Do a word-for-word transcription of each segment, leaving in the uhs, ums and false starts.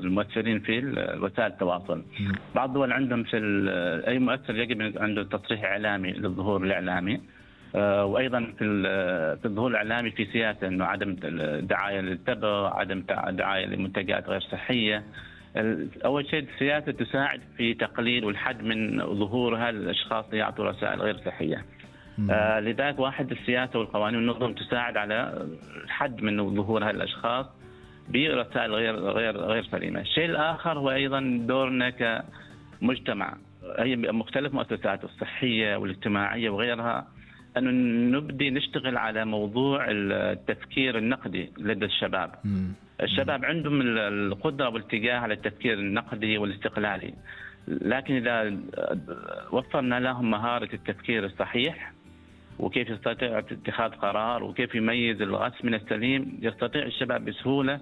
المؤثرين في وسائل التواصل. بعض الدول عندهم في أي مؤثر يجب عنده تصريح إعلامي للظهور الإعلامي، وأيضا في في الظهور الإعلامي في سياسة إنه عدم دعاية للتبغ، عدم دعاية لمنتجات غير صحية. أول شيء السياسة تساعد في تقليل والحد من ظهور هالأشخاص اللي يعطوا رسائل غير صحية. آه لذلك واحد السياسة والقوانين والنظم تساعد على الحد من ظهور هالأشخاص برسائل غير غير غير سليمة. الشيء الآخر هو أيضا دورنا كمجتمع، هي مختلف مؤسسات الصحية والاجتماعية وغيرها، أنه نبدي نشتغل على موضوع التفكير النقدي لدى الشباب. م. الشباب عندهم القدرة والاتجاه على التفكير النقدي والاستقلالي، لكن إذا وفرنا لهم مهارة التفكير الصحيح وكيف يستطيع اتخاذ قرار وكيف يميز الغث من السليم، يستطيع الشباب بسهولة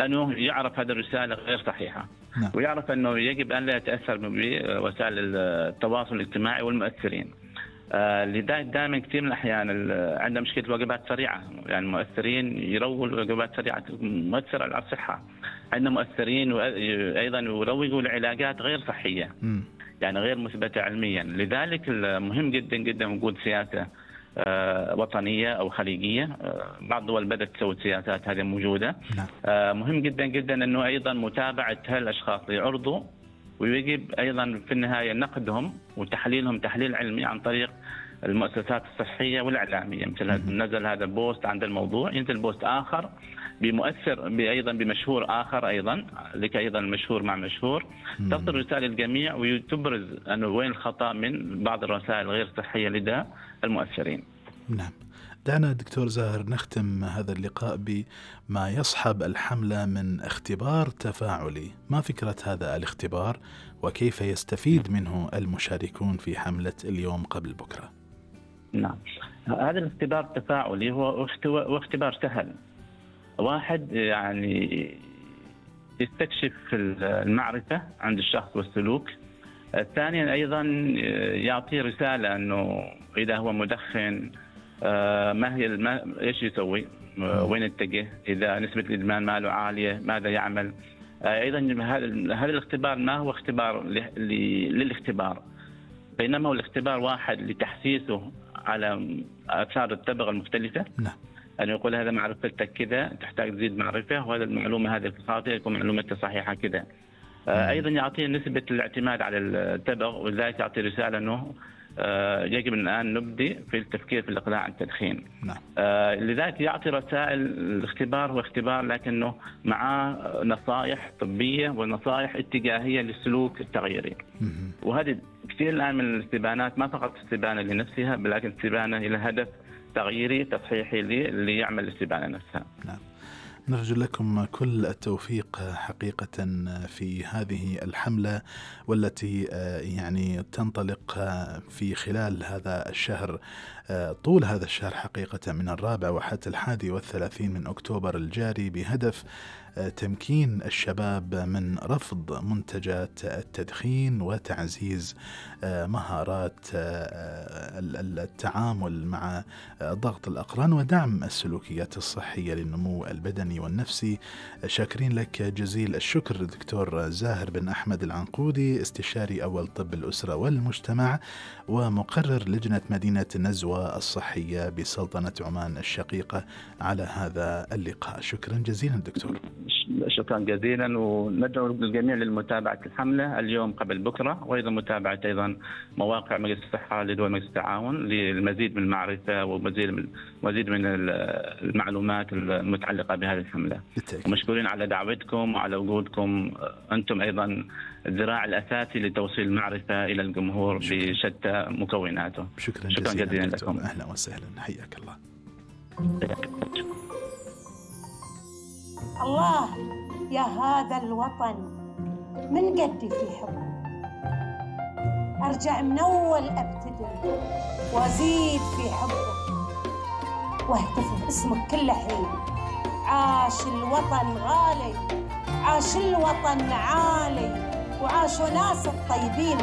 أنه يعرف هذه الرسالة غير صحيحة. نعم. ويعرف أنه يجب أن لا يتأثر بوسائل التواصل الاجتماعي والمؤثرين. آه لذلك دائما كثير من الأحيان عندنا مشكلة وجبات سريعة، يعني المؤثرين يروجوا وجبات سريعة مؤثرة على الصحة. عندنا مؤثرين وأيضا يروجوا لعلاجات غير صحية، م. يعني غير مثبتة علميا. لذلك مهم جدا جدا وجود سياسة آه وطنية أو خليجية. آه بعض الدول بدأت تسوي سياسات هذه موجودة. آه مهم جدا جدا أنه أيضا متابعة هالأشخاص اللي يعرضوا، ويجب أيضا في النهاية نقدهم وتحليلهم تحليل علمي عن طريق المؤسسات الصحية والإعلامية. مثل نزل هذا بوست عند الموضوع، ينزل بوست آخر بمؤثر أيضا بمشهور آخر أيضا، لك أيضا مشهور مع مشهور، تصل رسالة الجميع وتبرز أنه وين الخطأ من بعض الرسائل غير صحية لدى المؤثرين. نعم. دعنا دكتور زاهر نختم هذا اللقاء بما يصحب الحملة من اختبار تفاعلي. ما فكرة هذا الاختبار وكيف يستفيد منه المشاركون في حملة اليوم قبل بكرة؟ نعم، هذا الاختبار التفاعلي هو اختبار سهل. واحد يعني يستكشف المعرفة عند الشخص والسلوك. ثانيا أيضا يعطي رسالة أنه إذا هو مدخن آه ما هي ما ايش يسوي، آه وين يتجه، اذا نسبه الادمان ماله عاليه ماذا يعمل. آه ايضا هذا الاختبار ما هو اختبار للاختبار، بينما هو الاختبار واحد لتحسيسه على اثار التبغ المختلفه. نعم. أن يقول هذا معرفتك كذا، تحتاج تزيد معرفة، وهذا المعلومة هذه خاطئة يكون معلومتك صحيحة كذا. آه أيضا يعطي نسبة الاعتماد على التبغ، ولذلك يعطي رسالة أنه آه يجب الآن نبدي في التفكير في الإقلاع عن التدخين. نعم. آه لذلك يعطي رسائل. الاختبار هو اختبار لكنه معاه نصائح طبية ونصائح اتجاهية للسلوك التغييري. وهذه كثير الآن من الاستبانات ما فقط استبانة لنفسها، بل استبانة إلى هدف تغييري تصحيحي اللي يعمل الاستبانة نفسها. نعم. نرجو لكم كل التوفيق حقيقة في هذه الحملة، والتي يعني تنطلق في خلال هذا الشهر، طول هذا الشهر حقيقة، من الرابع وحتى الحادي والثلاثين من أكتوبر الجاري، بهدف تمكين الشباب من رفض منتجات التدخين وتعزيز مهارات التعامل مع ضغط الأقران ودعم السلوكيات الصحية للنمو البدني والنفسي. شاكرين لك جزيل الشكر دكتور زاهر بن أحمد العنقودي، استشاري أول طب الأسرة والمجتمع ومقرر لجنة مدينة النزوة الصحية بسلطنة عمان الشقيقة، على هذا اللقاء. شكرا جزيلا دكتور. شكرا جزيلا، وندعو الجميع للمتابعة الحملة اليوم قبل بكرة، وأيضا متابعة أيضا مواقع مجلس الصحة لدول مجلس التعاون للمزيد من المعرفة ومزيد من مزيد من المعلومات المتعلقة بهذه الحملة. ومشكورين على دعوتكم وعلى وجودكم. أنتم أيضا الذراع الأساسي لتوصيل المعرفة إلى الجمهور بشتى مكوناته. شكرا, شكرا جزيلا, جزيلا لكم. لكم. أهلا وسهلا، حياك الله. الله يا هذا الوطن من قدي في حبه، أرجع من أول أبتدي وأزيد في حبه، واهتف باسمك كل حين. عاش الوطن غالي، عاش الوطن عالي، وعاشوا ناس الطيبين.